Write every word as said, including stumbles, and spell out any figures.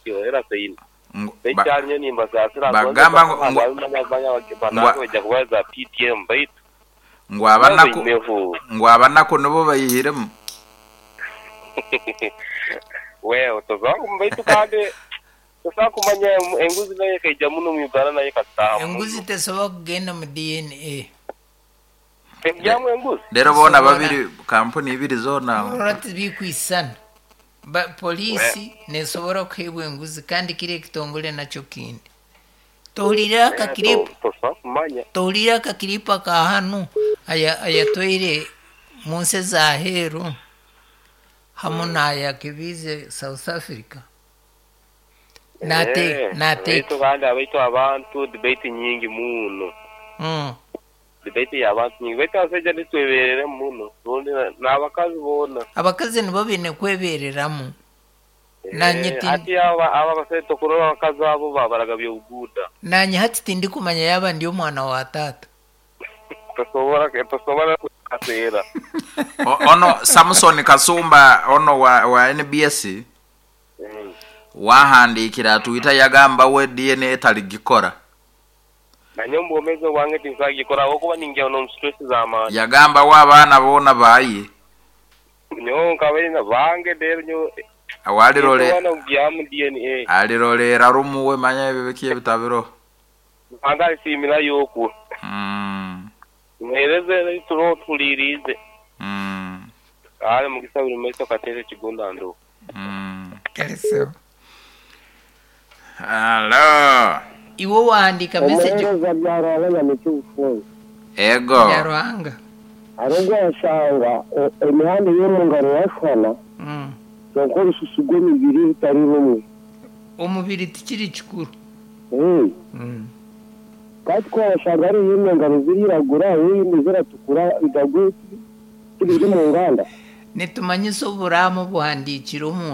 ekyo era teine. Ngu- ba- Ekyanyo nimbasaasira Bagamba ngu- ngu- banange bajja kubaza P T M baitu ngu abanaku baineho. Ngu abanaku nibo bayihiremu. Well, tosobola baitu kandi tosobola kumanya enguzi nayo ekaija muno mu Uganda nayo ekataaha. Enguzi tesobola kugenda mu D N A. Ejjamu enguzi. Rero bona Tesobola. babiri kampuni ibiri zona. Orora tibikwisana. Ba polisi nesobora kuheebwa enguzi kandi kiri ekitongole nakyo kindi. Tohurira akakiripu. Tosobola kumanya. Tohurira akakiripu aka hanu aya ayatwaire mu nsi ez'aheeru hamu n'ayakebiize South Africa. Nate Eh, nate baitu kandi abaitu abantu debate nyingi muno. Mm. Debate y'abantu nyingi baitu abasajja nitweberere muno rundi n'abakazi boona. Abakazi nibo baine kwebereramu. Nanye Eh, ti- hati aba aba abasajja tokurora abakazi abo babaraga by'obuguuda. Nanye hati tindikumanya yaba ndi omwana wa taata. Tosobola tosobola kukaseera. O- ono Samson Kasumba ono wa, wa N B S Mm. wahandiikira atwita yagamba we D N A taligikora. Nanye omubwomezi bwange tinsagikora ahabw'okuba ningira n'omu stress z'amaani. Yagamba we abaana boona baaye. Nyowe nkabaine bange rero nyowe Awalirole Nyowe kugyamu D N A. alirolera rumu we manya ebyo biki ebitabiro. Ruhanga alisiimira y'okwo. Mm. Muheereze turo tulirize. Mm. Ale mukisa buri maiso kateere kigunda ndo. Mm. Kaleseho. Hello. Iwe wahandika message Omuheereza bya Ruhanga nyamikyufunze. Ego. ya Ruhanga. Arogwa yashanga emihanda y'omu ngaro yashwana. Mm. Kyonka orususu rw'emibiri rutari rumwe. Omubiri tikiri kikuru. Eh. Mm. Kandi ko washanga ari iy'engaro ziriragura, iy'indi ziratukura, igagwe tibiri mu nganda. Nitumanyisa oburamu buhandiikire omu